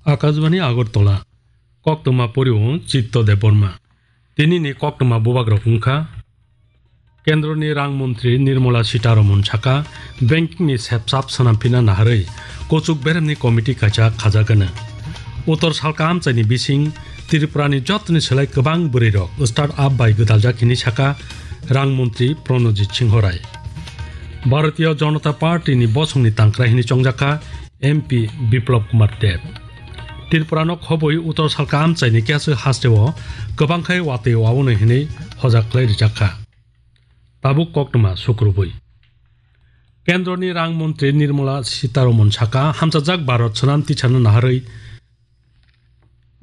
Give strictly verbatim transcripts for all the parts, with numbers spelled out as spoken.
Akashbani Agartala, koktwma pori-o Chitto Debbarma. Tinini koktwma bubagrok wngkha, Kendroni Rang Montri Nirmala Sitharaman saka, banking ni sepsap swnamphina naharwi kuchuk beremni committee kaisa khajagana. Uttor salka amchaini bising Tripurani jotoni selai kwbang bwrwirok start up bai gwdaljak hini saka Rang Montri Pranojit Singho Rai. Bharatiya Janata Party ni bosongni tangkra hini chongjakha M P Biplab Kumar Deb. Tripurano khobwi uttor salka amchaini keha hasteo kwbang khai watwi waono hinwi hojak khlai rijakha. Tabuk koktwma sukrubwi. Kendroni Rang Montri Nirmala Sitharaman saka, hamchajak Bharat swnam tisano naharwi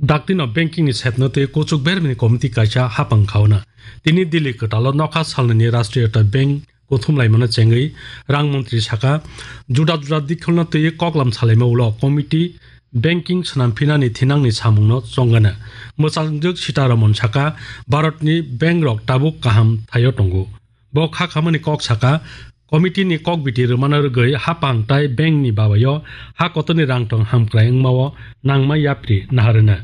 daktino banking ni sepno tei kuchuk bermini committee kaisa hapang khauna. Tini Delhi kwtalo nokha salnwini Rashtriya Bank kuthum laimano chengwi Rang Montri saka, juda juda dikholno twiwi koklam salaima ulo committee banking swnam phinani thinangni samungno chongana. Mwchangjwk Sitharaman saka, Bharatni bank rok tabuk kaham thaio tongo. Bo kha khamani kok saka, committee ni kok biti rwmano rwgwi hapang tai bank ni babayo ha kotorni rang tong hamkrai wngmao nangma yapri naharwna.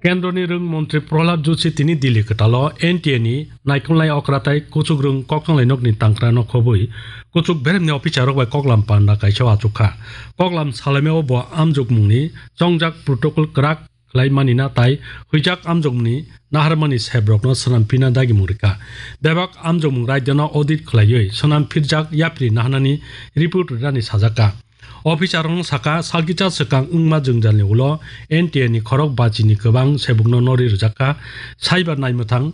Kendroni rwng montri Prahlad Joshi tini Delhi kwtalo N T A ni naikolnai okra tai kuchuk rwng koktwmlainokni tangkrano khobwi kuchuk beremni officer rok bai koklam panda kaisa achukha. Koklam salaimao bo amjokmungni chongjak protocol kwrak khlai manina tai huijak amjokmungni naharmani sebrokno swnam phina dagimung rikha. Bebak amjokmung raidano audit khlaiwi swnam phirjak yapri naharnani report rinani sajakha. Officer rokno saka, salkisa swkang wngma jwngjalni ulo N T A ni khorok bachini kwbang sebukno nori rwjakha, saiba naimwthang,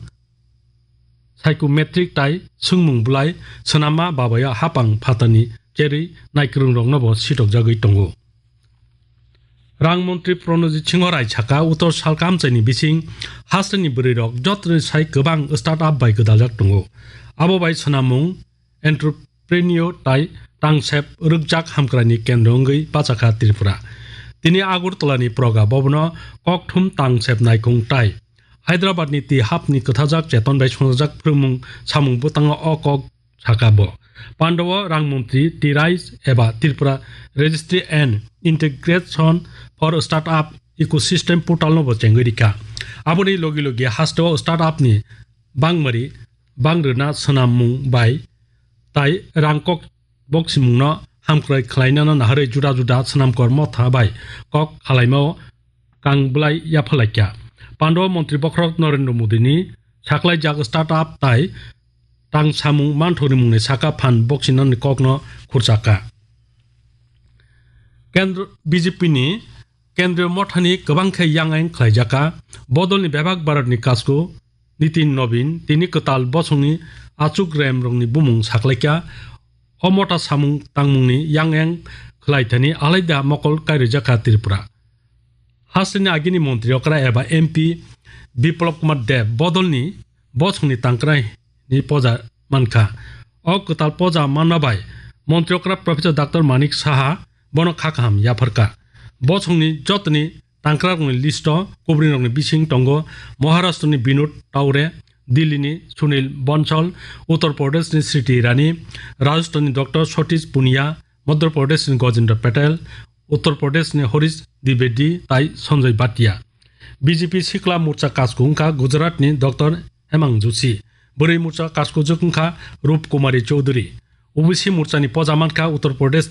psychometric tai swngmung bwlai swnamma babayo hapang phatarni cherwi naikwrwngrokno bo sitokjagwi tongo. Rang montri Pranojit Singho Rai saka, uttor salka amchaini bising hasteni bwrwirok jotoni sai kwbang start up bai gwdaljak tongo. Abo bai swnamung, entrepreneur tai tangsep rwkjak hamkraini kendro wngwi bachakha Tripura. Tini Agartala ni Praga Bhavan o kokthum tangsep naikhung tai Hyderabad ni tihap ni kwthajak cheton bai swngjak phwrwngmung samung bwtango o kok saka bo. Pandao rang montri T RISE eba Tripura Registry and Integration for Startup Ecosystem portal no bo chengwi rikha. Aboni logi logi hasteo startup ni bangmari bang rwna swnam mung bai tai rang kok boksimungno hamkrai khlainano naharwi juda juda swnamkor motha bai kok khalaimao kang bwlai yaphalaikha. Pandao montri bokhorok Narendra Modi ni saklaijak startup tai tang samung manthokni mungni saka phan boksinani kokno khurchakha. Kendro B J P ni Kendriya Mothani kwbang khe yang ayang khlaijakha. Bodolni bebak Bharatni kasku Nitin Nobin tini kwtal bosongni achuk rem rokni bumung saklaikha. O motha samung tangmungni yang ayang khlaithani alaida mokol kairijakha Tripura. Hasteni agini montri okra eba M P Biplab Kumar Deb bodolni bosongni tangkrai ni poja mankha. O kwtal poja manma bai montri okra Professor Doctor Manik Saha bono kha kaham yapharkha. Bosongni jotoni tangkrarokni listo kubrinrokni bising tongo Maharashtrani Binod Taure, Dillini Sunil Bansal, Uttar Pradeshni Smriti Irani, Rajasthanni Doctor Satish Punia, Madhya Pradeshni Gajendra Patel, Uttar Pradeshni Harish Dwivedi tai Sanjay Bhatia. B J P Sikla Morcha kasku wngkha Gujaratni Doctor Hemang Joshi. Bwrwi Morcha kaskujwk wngkha Rup Kumari Chowdhury. O B C Morchani poja mankha Uttar Pradeshni